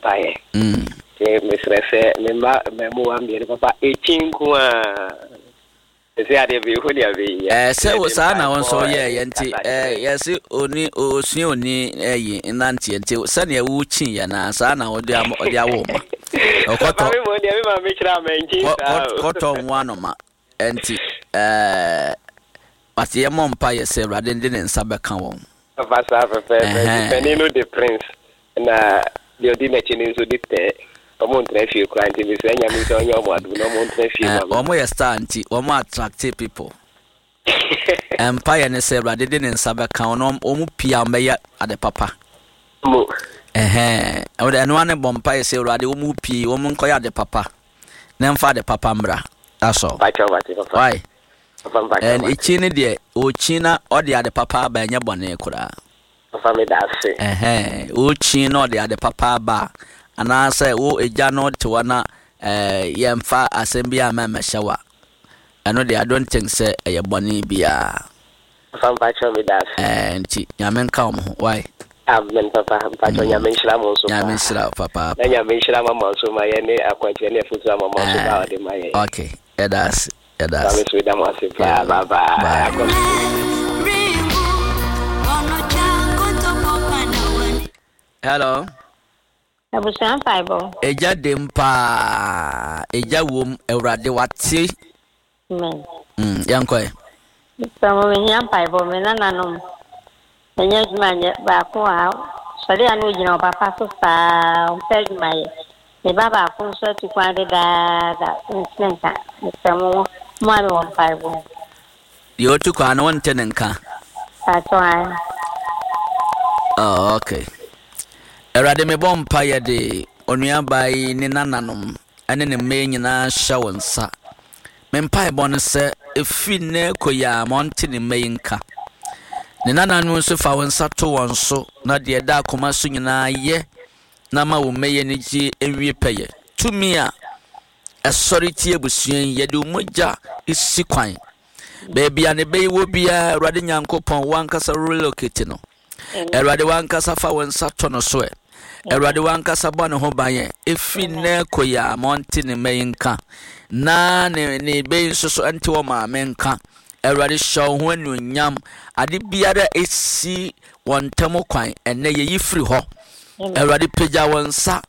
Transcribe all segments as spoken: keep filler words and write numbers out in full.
Mpaeɛ. Mm. Nti mesrɛ sɛ me mma mmamuwa mmienu, papa, ɛkyi nko a ɛsɛ adeɛ bɛhu nea bɛyɛ. Ɛɛ, sɛ wo saa na wo nso yɛɛyɛ nti ɛɛ yɛse oni osua oni ɛyi nanteɛ, nti sɛnea wokyi yɛ na saa na wode ama ɔde awo ma ɔkɔtɔ. Papa, me mmom deɛ, me maame kyerɛ a mankyi kɔ- saa kɔ- o. Kɔtɔ nwo anoma nti ɛɛ but yɛmmɔ mpa yɛ sɛ Awurade de ne nsa bɛka wɔn. Papa, saa pɛpɛɛpɛ. Ɛhɛn. Nti panin no de Prince, na deɛ ɔdi n'akyi no nso de Tɛɛ. Ɔmo ntena fie koraa, nti mesrɛ Nyame sɛ ɔnyɛ ɔmo adom na ɔmo ntena fie Ɛɛ ma me. Wɔn yɛ star nti wɔn attract people. Mpa yɛ ne sɛ Awurade de ne nsa bɛka wɔn na wɔn pii a wɔbɛyɛ ade papa. Mo. Ɛhɛn, ɛwɔ ɛno ara ne bɔ mpa yɛ sɛ Awurade, wɔn pii wɔn nkɔyɛ ade papa na mfa ade papa mmra, that's all. Mpakyɛw, mate, papa. Why? Papa, mpakyɛw. And mate. ekyi ne deɛ okyi na ɔde ade papa aba, ɛnyɛ bɔne koraa. Papa, meda ase. Ɛhɛn, okyi na ɔde ade papa aba a, anaasɛ wo egya no te hɔ na ɛɛ yɛmfa asɛm bi a mɛmɛhyɛ wa, ɛno deɛ, I don't think sɛ ɛyɛ bɔne biara. Papa, mpakyɛw, meda ase. Ɛɛ nti Nyame nka wɔn ho, why? Amen, papa. Mpakyɛw, Nyame nhyira mo nso Nyame paa. nhyira wo papaapa. Na Nyame nhyira mama nso ma yɛ ne akwankyerɛ ne afotu a mama nso ba a ɔde ma yɛ. Okay, ɛda ase, ɛda Maame ase. so meda mo ase paa. Yeah. Bye bye. Bye. Akɔ. Hello. Abusua, mpaebɔ. Egya dem paa, egya wom, Awurade wate. Amen. mm, yɛnkɔɛ. Sɛ mo mehia mpaebɔ, me nananom ɛnyɛ adwuma nyɛ baako a sɔre a na ogyina wɔ papa so saa, ɔmpɛ adwuma yɛ. Me ba baako nso atu kwan dedaada, ntene nka. Mesrɛ mo, mo a mewɔ mpaebɔ. Deɛ otu kwan no, wonte ne nka? Atɔ an. Oh, okay. Awurade, mebɔ mpa yɛde onuabaa yi ne nananom ɛne ne mma yi nyinaa hyɛ wo nsa. Me mpaebɔ no sɛ ɛfiri nnɛ kɔ yi a, ma ɔnte ne mma yi nka. Ne nananom nso, fa wo nsa to wɔn so na deɛ ɛda akoma so nyinaa yɛ na ma wo mma yi ani gye nwie pɛyɛ. Tumi a ɛsɔre tie abusua yi, yɛde wo mogya si kwan. Baabi a ne bɛyi wɔ biara, Awurade Nyankopɔn, wankasa relocate no. Awurade, wankasa fa wo nsa to no so ɛ. Awurade, wankasa bɔ ne ho ban ɛ. Ɛfiri nnɛ kɔ yi a, ma ɔnte ne mma yi nka na ne ne bɛyi nso so ɛnte wɔ maame nka. Awurade, hyɛ wo ho anuonyam. Ade biara a ɛsi wɔn ntam kwan, ɛnnɛ yɛyi firi hɔ. Awurade, pagya wɔn nsa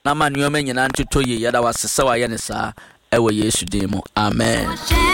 na ma nneɛma nyinaa ntotɔ yie. Yɛda wase sɛ wayɛ ne saa ɛwɔ Yesu din mu, amen.